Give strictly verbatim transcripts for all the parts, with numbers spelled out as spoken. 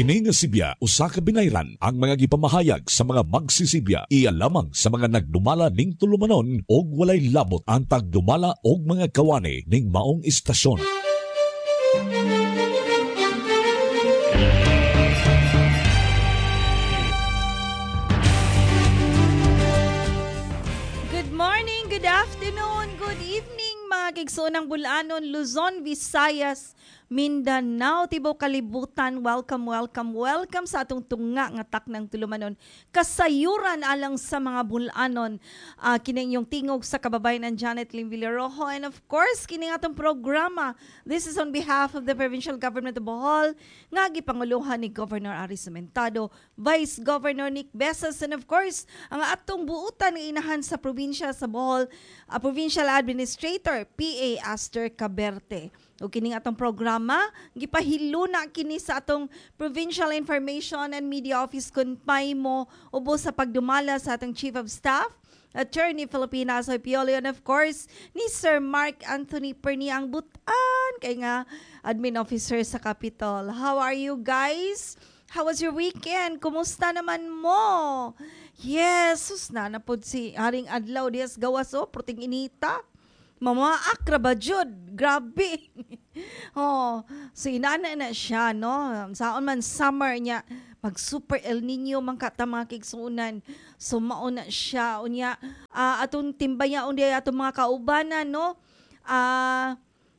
Kini nga sibya usa ka binayran ang mga gipamahayag sa mga magsisibya iya lamang sa mga nagdumala ning tulumanon og walay labot ang tagdumala og mga kawani ning maong istasyon. Good morning, good afternoon, good evening mga kigsuonang Bulanon, Luzon, Visayas, Mindanao, tibuok kalibutan. Welcome, welcome, welcome sa atong tunga nga taknang tulumanon. Kasayuran alang sa mga Bulanon. Uh, kini inyong tingog sa kababayan ng Janet Lim Villarojo. And of course, kini atong programa. This is on behalf of the Provincial Government of Bohol, nga gipanguluhan ni Governor Aris Sementado, Vice Governor Nick Besas, and of course, ang atong buutan nga inahan sa probinsya sa Bohol, uh, Provincial Administrator P A Aster Caberte. O kining atong programa, gipahiluna kini sa atong Provincial Information and Media Office Kunpaymo ubos sa pagdumala sa atong Chief of Staff, Attorney Filipina Asoy Piolo, and of course, ni Sir Mark Anthony Pernia ang butan kay nga admin officer sa Capitol. How are you guys? How was your weekend? Kumusta naman mo? Yes, sus na napod si Haring Adlaw dias gawas oh, proting inita. Mama akra ba jud? Grabe. Oh, so inana na siya no. Saon man summer niya mag super El Nino man ka ta mga kigsuonan. So mao na siya unya uh, atong timbaya unya atong mga kaubanan no. Ah uh,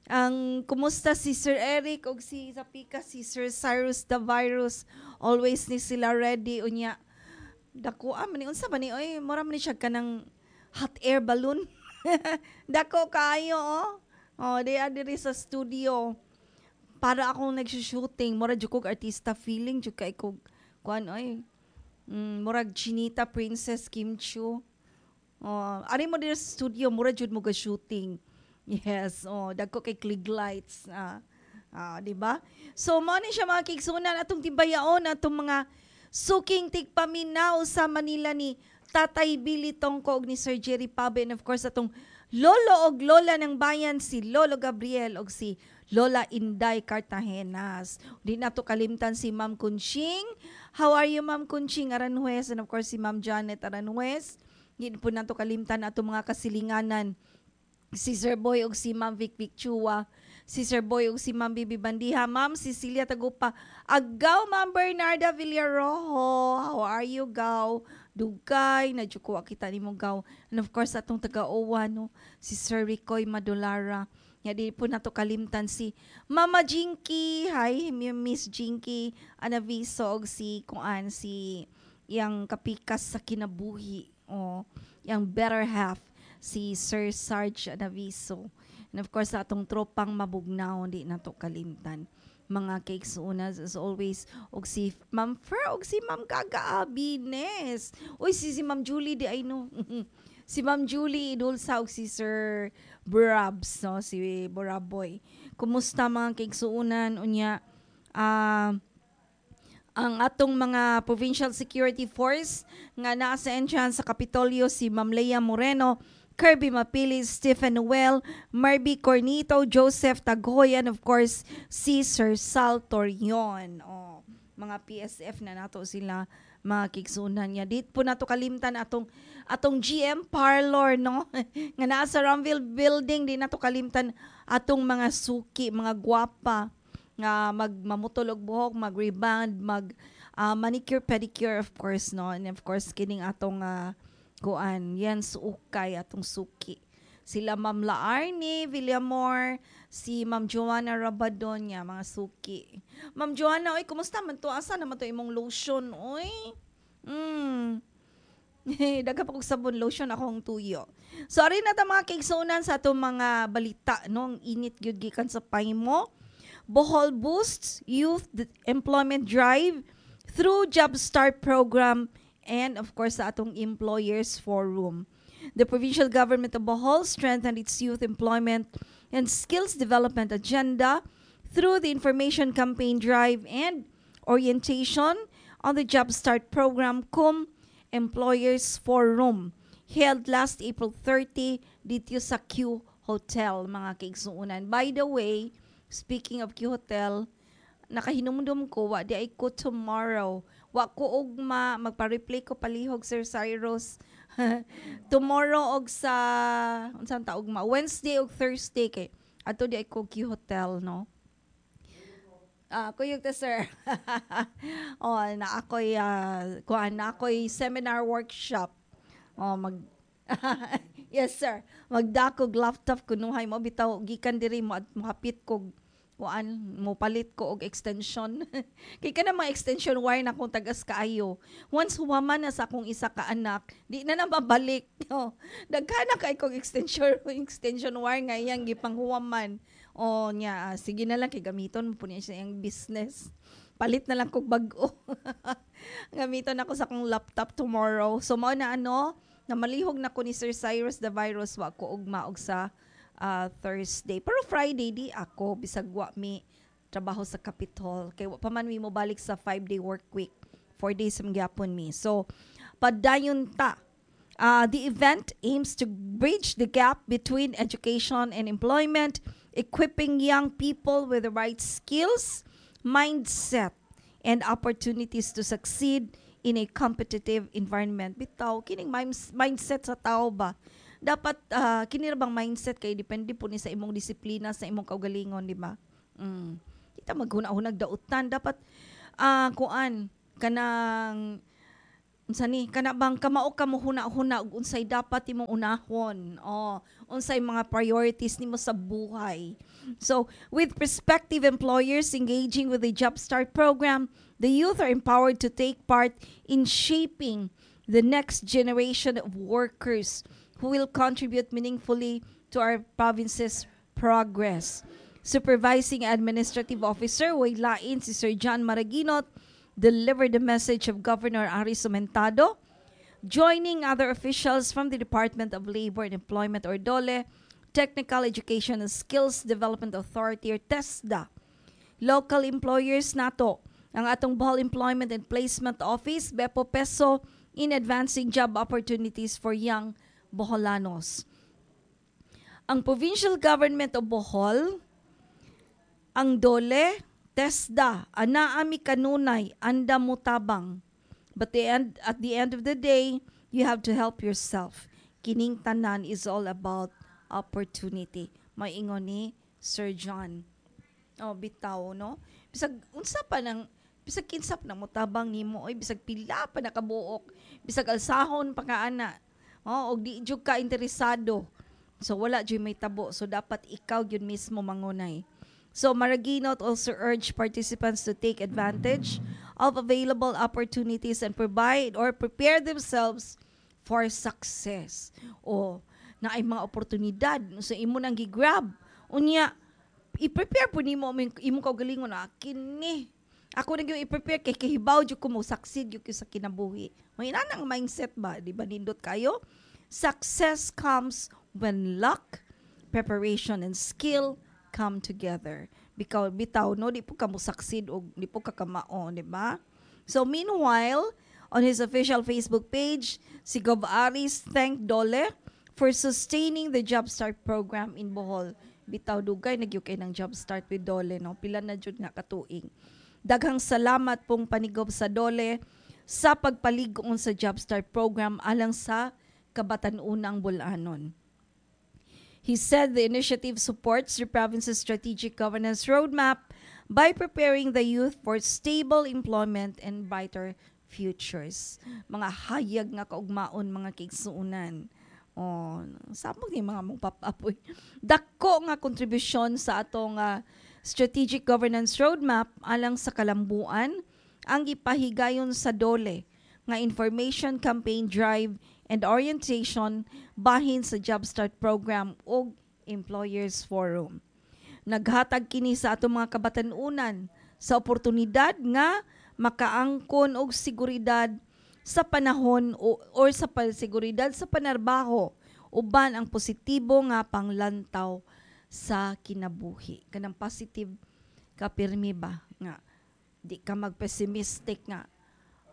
ang kumusta si Sir Eric og si Zapika si Sir Cyrus the Virus, always ni sila ready unya. Dako ah man unsa ba ni oy, mura man ni siya kanang hot air balloon. Dako kaayo oh. Oh, di diri sa studio. Para akong nagsushooting, mura jud kog artista feeling jud kay kog kuan oy. Mm, murag Chinita Princess Kim Chu. Oh, ari mo diri sa studio, mura jud mo ga shooting. Yes, oh, dagko kay click lights. Ah, ah, di ba? So mo ni siya mga kigsunan atong timbayaon atong mga suking tigpaminaw sa Manila ni Tatay Billy Tongko og ni Sir Jerry Pabe, and of course atong lolo og lola ng bayan si Lolo Gabriel og si Lola Inday Cartagenas. Di nato kalimtan si Ma'am Kunching. How are you Ma'am Kunching Aranjuez, and of course si Ma'am Janet Aranjuez. Di po nato kalimtan atong mga kasilinganan si Sir Boy og si Ma'am Vic Vic Chua, si Sir Boy og si Ma'am Bibi Bandiha, Ma'am Cecilia Tagupa, Agaw Ma'am Bernarda Villarojo, how are you Gaw? Dugay, na ko kita nimo Gaw. And of course atong taga-Owa no, si Sir Ricoy Madulara. Nga di po nato kalimtan si Mama Jinky, hi Miss Jinky Anaviso og si kuan si yang kapikas sa kinabuhi, oh, yang better half si Sir Sarge Anaviso. And of course, atong tropang mabugnaw, di nato kalimtan. Mga kaigsuonan as always, og si Ma'am Fer, og si Ma'am Gaga Abines. Uy, si, si Ma'am Julie, di ay no. Si Ma'am Julie Idulsa, og si Sir Brabs, no? Si Boraboy. Kumusta mga kaigsuonan? Unya, ah, uh, ang atong mga Provincial Security Force nga naa sa entrance sa Kapitolyo si Ma'am Leia Moreno, Kirby Mapili, Stephen Noel, Marby Cornito, Joseph Tagoy, and of course, si Sir Sal Torion. Oh, mga P S F na nato sila mga kigsunan niya. Di po nato kalimtan atong atong G M Parlor, no? Nga naa sa Ramville Building, di nato kalimtan atong mga suki, mga gwapa nga magmamutol og buhok, mag-reband, mag uh, manicure, pedicure, of course, no? And of course, kining atong uh, kuan, yan suukay atong suki. Sila Ma'am Laarni Villamor, si Ma'am Joanna Rabadon niya, mga suki. Ma'am Joanna, oy, kumusta man to? Asa naman to imong lotion, oy? Mm. Daghan pa kog sabon, lotion akong tuyo. So ari na ta mga kaigsuonan sa atong mga balita, no? Ang init gyud gikan sa Paymo. Bohol boosts youth employment drive through Job Start program and of course sa atong Employers Forum. The provincial government of Bohol strengthened its youth employment and skills development agenda through the information campaign drive and orientation on the Job Start program cum Employers Forum held last April thirty dito sa Q Hotel, mga kaigsuonan. By the way, speaking of Q Hotel, Nakahinumdum ko wa diay ko tomorrow. Wa ko ugma magpa-replay ko palihog Sir Cyrus. tomorrow og sa unsang ta ugma Wednesday og Thursday kay adto diay ko Q Hotel no. Ah, kuyog ta sir. oh, na ako'y uh, kuan na ako'y seminar workshop. Oh, mag Yes sir. Magdakog laptop kunuhay mo bitaw gikan diri mo at mohapit kog kuan mo palit ko og extension. Kay kana mga extension wire na akong tagas kaayo. Once huwaman na sa akong isa ka anak, di na na mabalik. Oh, daghan na kay kog extension extension wire nga iyang gipanghuwaman. Oh, nya ah, sige na lang kay gamiton mo po niya sa iyang business. Palit na lang kog bag-o. Gamiton ako sa akong laptop tomorrow. So mao na ano, na malihog na ko ni Sir Cyrus the Virus wa ko ugma og sa ah, Thursday. Pero Friday di ako bisag wa mi trabaho sa Capitol. Kay wa pa man mi mobalik sa five day work week. Four days man gyapon mi. So padayon ta. Uh, the event aims to bridge the gap between education and employment, equipping young people with the right skills, mindset, and opportunities to succeed in a competitive environment. Bitaw, kining minds- mindset sa tao ba? Dapat, uh, kini ra bang mindset kay depende po ni sa imong disiplina, sa imong kaugalingon, di ba? Mm. Kita maghuna-hunag dautan. Dapat, ah kuan, kanang unsa ni kana bang kamao ka mo huna-huna ug unsay dapat imong unahon oh unsay mga priorities nimo sa buhay so with prospective employers engaging with the job start program the youth are empowered to take part in shaping the next generation of workers who will contribute meaningfully to our province's progress Supervising Administrative Officer way lain si Sir John Maraginot delivered the message of Governor Aris Sumentado, joining other officials from the Department of Labor and Employment or DOLE, Technical Education and Skills Development Authority or TESDA, local employers nato, ang atong Bohol Employment and Placement Office, Bepo Peso, in advancing job opportunities for young Boholanos. Ang Provincial Government of Bohol, ang DOLE, TESDA, anaa mi kanunay, andam motabang. But the end, at the end of the day, you have to help yourself. Kining tanan is all about opportunity. May ingon ni Sir John. Oh, bitaw, no? Bisag unsa pa nang bisag kinsa pa na motabang nimo oy bisag pila pa nakabuok, bisag alsahon pa ka ana. Oh, og di jud ka interesado. So wala jud may tabo. So dapat ikaw gyud mismo mangunay. So Maraginot also urged participants to take advantage of available opportunities and provide or prepare themselves for success. O na ay mga oportunidad sa imo nang gi-grab. Unya i-prepare po nimo imong imong kaugalingon na kini. Ako na gyud i-prepare kay kahibaw jud ko mo succeed jud ko sa kinabuhi. May inana ang mindset ba, di ba nindot kayo? Success comes when luck, preparation and skill come together. Bikaw bitaw no di po ka mo succeed og di po ka kamao, di ba? So meanwhile, on his official Facebook page, si Gov Aris thanked DOLE for sustaining the Job Start program in Bohol. Bitaw dugay na gyud kay ng Job Start with DOLE no. Pila na jud nga katuig. Daghang salamat pong panigob sa DOLE sa pagpalig-on sa Job Start program alang sa kabatan-unang Bol-anon. He said the initiative supports the province's strategic governance roadmap by preparing the youth for stable employment and brighter futures. Mga hayag nga kaugmaon mga kaigsuonan. Oh, samok ni mga mong papapoy. Dako nga kontribusyon sa atong ah, strategic governance roadmap alang sa kalambuan ang gipahigayon sa DOLE nga information campaign drive and orientation bahin sa Job Start program ug Employers Forum. Naghatag kini sa atong mga kabatan-unan sa oportunidad nga makaangkon og seguridad sa panahon o or sa seguridad sa panarbaho uban ang positibo nga panglantaw sa kinabuhi. Kanang positive ka pirmi ba nga di ka mag-pessimistic nga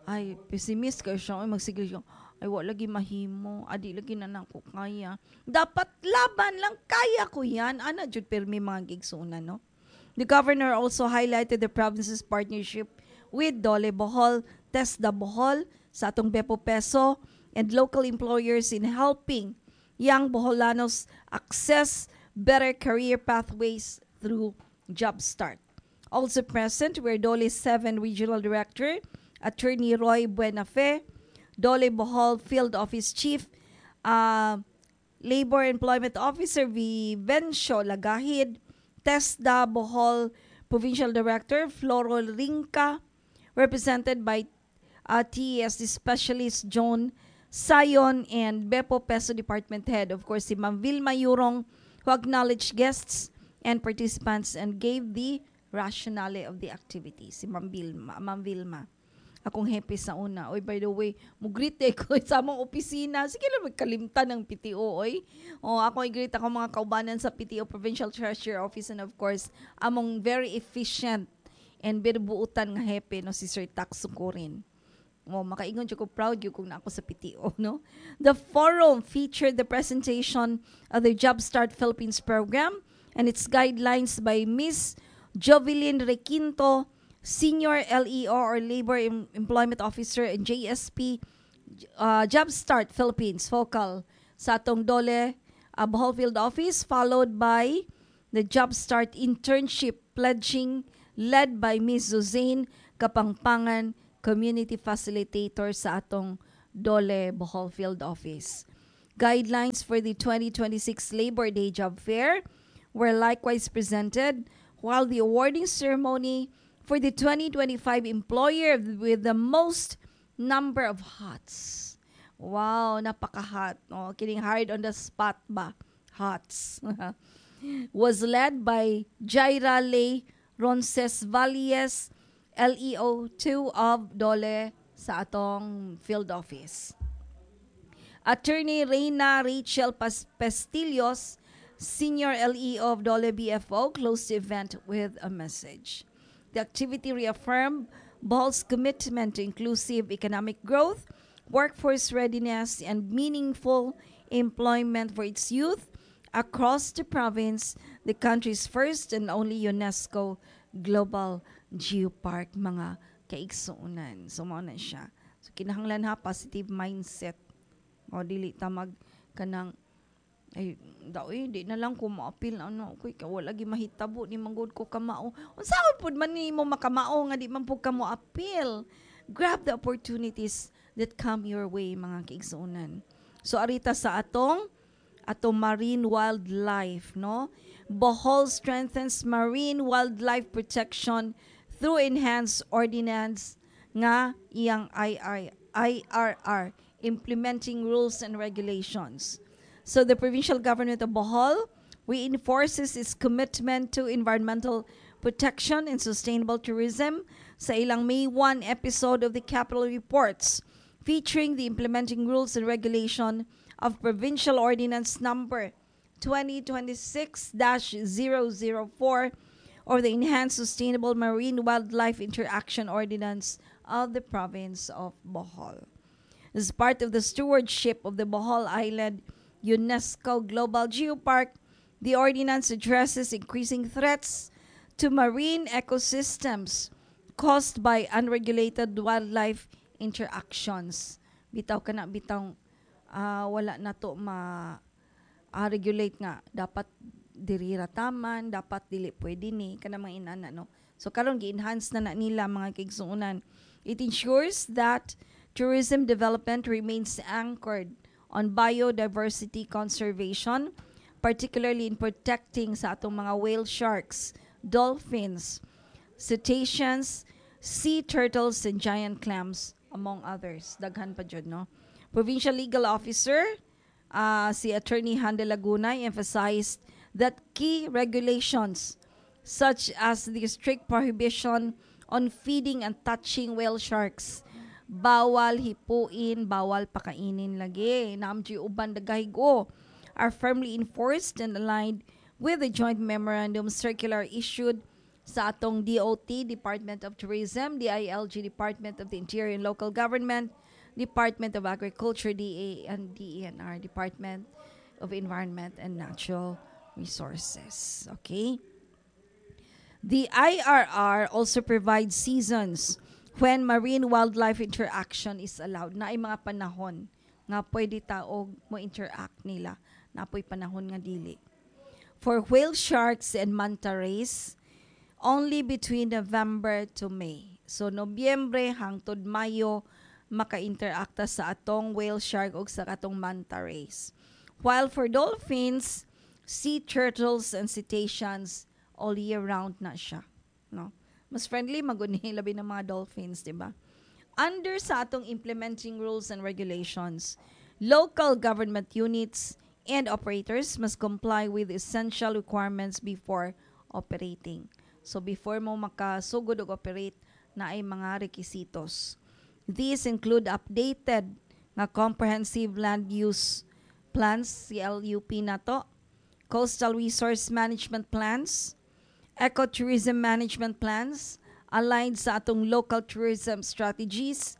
ay pessimist kayo siya ay magsige siya ay wa lagi mahimo adi lagi na nako kaya dapat laban lang kaya ko yan ana jud pirmi mga gigsunan no The governor also highlighted the province's partnership with Dole Bohol, TESDA Bohol, sa atong Bepo Peso, and local employers in helping young Boholanos access better career pathways through Job Start. Also present were Dole seven Regional Director, Attorney Roy Buenafe, Dole Bohol Field Office Chief, uh, Labor Employment Officer Vivencio Lagahid, TESDA Bohol Provincial Director Floro Rinca, represented by uh, T E S D Specialist John Sayon and Bepo Peso Department Head, of course, si Ma'am Vilma Yurong, who acknowledged guests and participants and gave the rationale of the activity. Si Ma'am Vilma. Ma'am Vilma. Akong happy sa una. Oy, by the way, mugreet ko sa among opisina. Sige lang, magkalimtan ng P T O, oy. O, ako i-greet ako mga kaubanan sa P T O Provincial Treasurer Office and, of course, among very efficient and binubuutan nga hepe, no, si Sir Tax Sukurin. Mo makaingon jud ko, proud jud kung na ako sa P T O, no. The forum featured the presentation of the Job Start Philippines program and its guidelines by Miss Jovelyn Requinto, Senior L E O or Labor Em- Employment Officer and J S P uh, Job Start Philippines Focal sa atong Dole uh, Bohol Field Office, followed by the Job Start Internship Pledging led by Miss Suzanne Kapangpangan, Community Facilitator sa atong Dole Bohol Field Office. Guidelines for the twenty twenty-six Labor Day Job Fair were likewise presented, while the awarding ceremony for the twenty twenty-five employer with the most number of HOTS. Wow, napaka-hot. No? Kining hired on the spot ba? HOTS. Was led by Jaira Lay Roncesvalles, L E O two of Dole sa atong field office. Attorney Reina Rachel Pas- Pestillos, Senior L E O of Dole B F O, closed the event with a message. The activity reaffirmed Bohol's commitment to inclusive economic growth, workforce readiness, and meaningful employment for its youth across the province, the country's first and only UNESCO Global Geopark, mga kaigsuonan. So, mao na siya. So, kinahanglan ha, positive mindset. O, dili ta mag kanang ay daw eh, di na lang ko maapil ano ko kay wala gi mahitabo ni manggod ko kamao. Unsa pud man nimo makamao nga di man pud ka mo apil? Grab the opportunities that come your way, mga kaigsuonan. So arita sa atong atong marine wildlife, no? Bohol strengthens marine wildlife protection through enhanced ordinance nga iyang I I I R R, implementing rules and regulations. So the provincial government of Bohol reinforces its commitment to environmental protection and sustainable tourism sa ilang May one episode of the Capitol Reports, featuring the implementing rules and regulation of Provincial Ordinance Number twenty twenty-six dash zero zero four or the Enhanced Sustainable Marine Wildlife Interaction Ordinance of the province of Bohol. As part of the stewardship of the Bohol Island UNESCO Global Geopark, the ordinance addresses increasing threats to marine ecosystems caused by unregulated wildlife interactions. Bitaw kana bitaw ah, wala na to ma ah, regulate nga dapat diri ra taman, dapat dili pwede ni kana mga inana, no. So karon gi-enhance na na nila, mga kaigsuonan. It ensures that tourism development remains anchored on biodiversity conservation, particularly in protecting sa atong mga whale sharks, dolphins, cetaceans, sea turtles, and giant clams, among others. Daghan pa jud, no? Provincial Legal Officer, uh, si Attorney Hande Laguna, emphasized that key regulations such as the strict prohibition on feeding and touching whale sharks, bawal hipuin, bawal pakainin lagi. Namji uban dagahigo are firmly enforced and aligned with the joint memorandum circular issued sa atong D O T, Department of Tourism, D I L G, Department of the Interior and Local Government, Department of Agriculture, D A and D E N R, Department of Environment and Natural Resources. Okay? The I R R also provides seasons when marine wildlife interaction is allowed. Naay mga panahon nga pwede ta og mo interact nila. Naa poy panahon nga dili. For whale sharks and manta rays, only between November to May. So Nobyembre hangtod Mayo maka-interacta sa atong whale shark ug sa atong manta rays. While for dolphins, sea turtles and cetaceans, all year round na siya, no? Mas friendly maguni labi ng mga dolphins, di ba? Under sa atong implementing rules and regulations, local government units and operators must comply with essential requirements before operating. So before mo makasugod og operate, naay mga requisitos. These include updated nga comprehensive land use plans, C L U P nato, coastal resource management plans, ecotourism management plans, aligned sa atong local tourism strategies,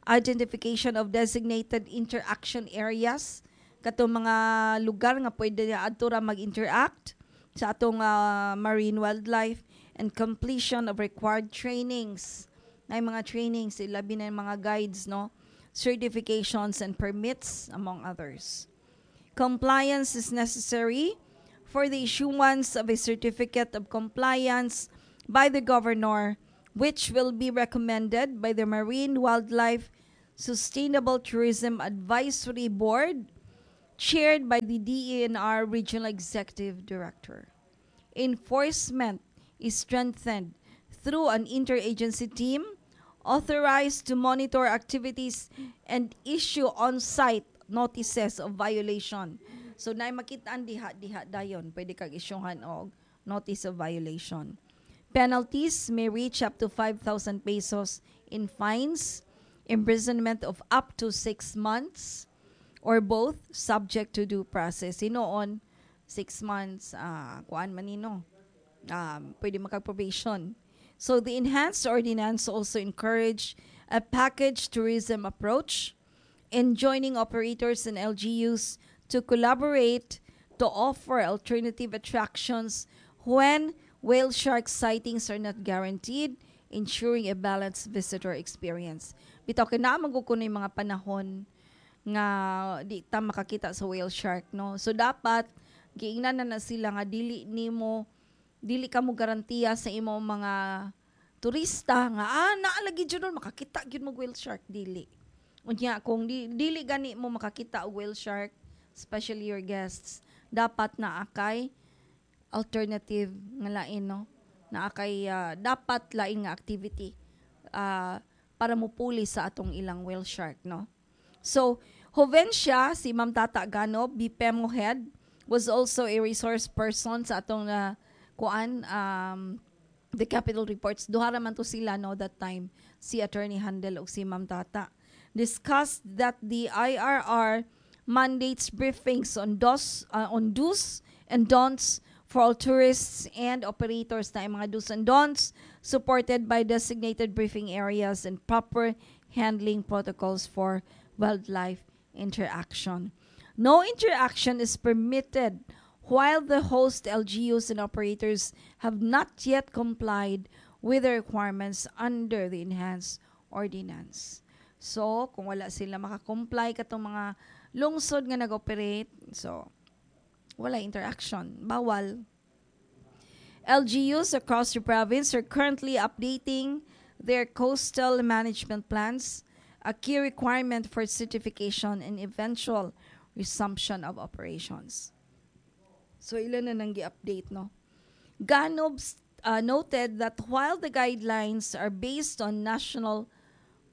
identification of designated interaction areas, katong mga lugar nga pwede adto ra mag-interact sa atong ah, marine wildlife, and completion of required trainings. Naay mga trainings, labi na yung mga guides, no? Certifications and permits, among others. Compliance is necessary for the issuance of a certificate of compliance by the governor, which will be recommended by the Marine Wildlife Sustainable Tourism Advisory Board, chaired by the D E N R Regional Executive Director. Enforcement is strengthened through an interagency team authorized to monitor activities and issue on-site notices of violation. So naay makitaan diha diha dayon pwede kag isyuhan og notice of violation. Penalties may reach up to five thousand pesos in fines, imprisonment of up to six months, or both, subject to due process. Hinuon, six months, ah, kuan man nino, um, pwede makag-probation. So the enhanced ordinance also encourage a package tourism approach, enjoining operators and L G Us to collaborate to offer alternative attractions when whale shark sightings are not guaranteed, ensuring a balanced visitor experience. Bitaw kay naa man gud kuno yung mga panahon nga di ta makakita sa whale shark, no? So dapat giingnan na na sila nga dili nimo dili ka mo garantiya sa imong mga turista nga ah naa lagi jud nun, makakita gyud mo whale shark. Dili. Unya kung di, dili gani mo makakita og whale shark, especially your guests, dapat naa kay alternative nga lain, no? Naa kay ah, dapat lain nga activity ah, para mupuli sa atong ilang whale shark, no? So Jovencia, si Ma'am Tata Gano, B P E M O head, was also a resource person sa atong uh, kuan, um, the Capitol Reports. Duha ra man to sila, no, that time, si Attorney Handel ug si Ma'am Tata. Discussed that the I R R mandates briefings on dos uh, on do's and don'ts for all tourists and operators, na mga do's and don'ts supported by designated briefing areas and proper handling protocols for wildlife interaction. No interaction is permitted while the host L G Us and operators have not yet complied with the requirements under the enhanced ordinance. So, kung wala sila makakomply katong mga lungsod nga nag-operate, so wala interaction, bawal. L G Us across the province are currently updating their coastal management plans, a key requirement for certification and eventual resumption of operations. So ilan na nang gi-update, no? Ganob uh, noted that while the guidelines are based on national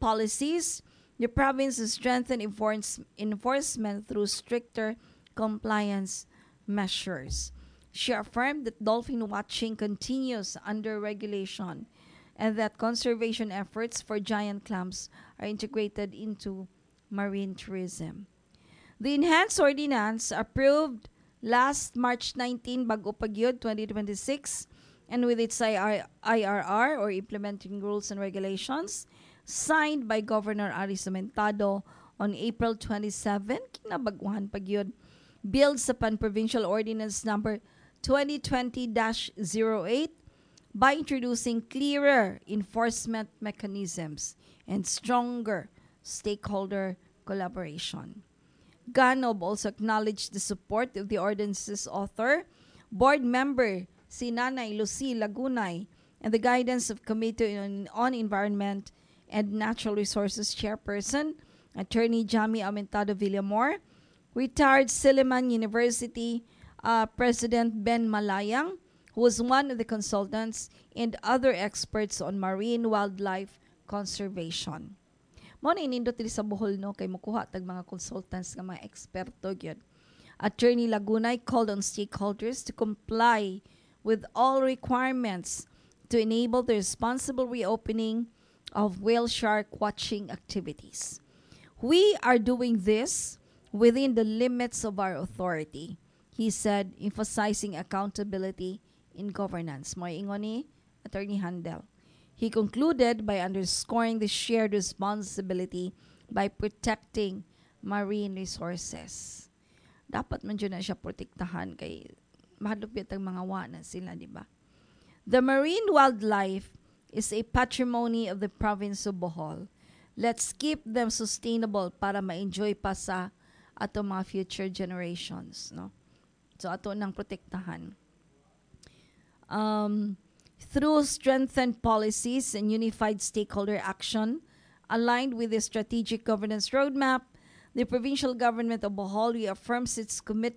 policies, the province has strengthened enforce- enforcement through stricter compliance measures. She affirmed that dolphin watching continues under regulation and that conservation efforts for giant clams are integrated into marine tourism. The enhanced ordinance, approved last March nineteen, bag-o pa gyud, twenty twenty-six, and with its I R I R R or implementing rules and regulations signed by Governor Aris Lamentado on April twenty-seven, kinabaguhan pa gyud, builds upon Provincial Ordinance Number twenty twenty dash zero eight by introducing clearer enforcement mechanisms and stronger stakeholder collaboration. Ganob also acknowledged the support of the ordinance's author, board member si Nanay Lucy Lagunay, and the guidance of Committee on, on Environment and Natural Resources Chairperson, Attorney Jami Aumentado Villamor, retired Silliman University uh, President Ben Malayang, who was one of the consultants, and other experts on marine wildlife conservation. Mao na nindot diri sa Bohol no kay mukuha tag mga consultants nga mga eksperto gyud. Attorney Lagunay called on stakeholders to comply with all requirements to enable the responsible reopening of whale shark watching activities. We are doing this within the limits of our authority, he said, emphasizing accountability in governance. Mao ingon ni Attorney Handel. He concluded by underscoring the shared responsibility by protecting marine resources. Dapat man jud na siya protektahan kay mahadlok ang mga wana sila, di ba? The marine wildlife is a patrimony of the province of Bohol. Let's keep them sustainable para ma-enjoy pa sa ato mga future generations, no? So ato nang protektahan. Um, through strengthened policies and unified stakeholder action aligned with the strategic governance roadmap, the provincial government of Bohol reaffirms its commitment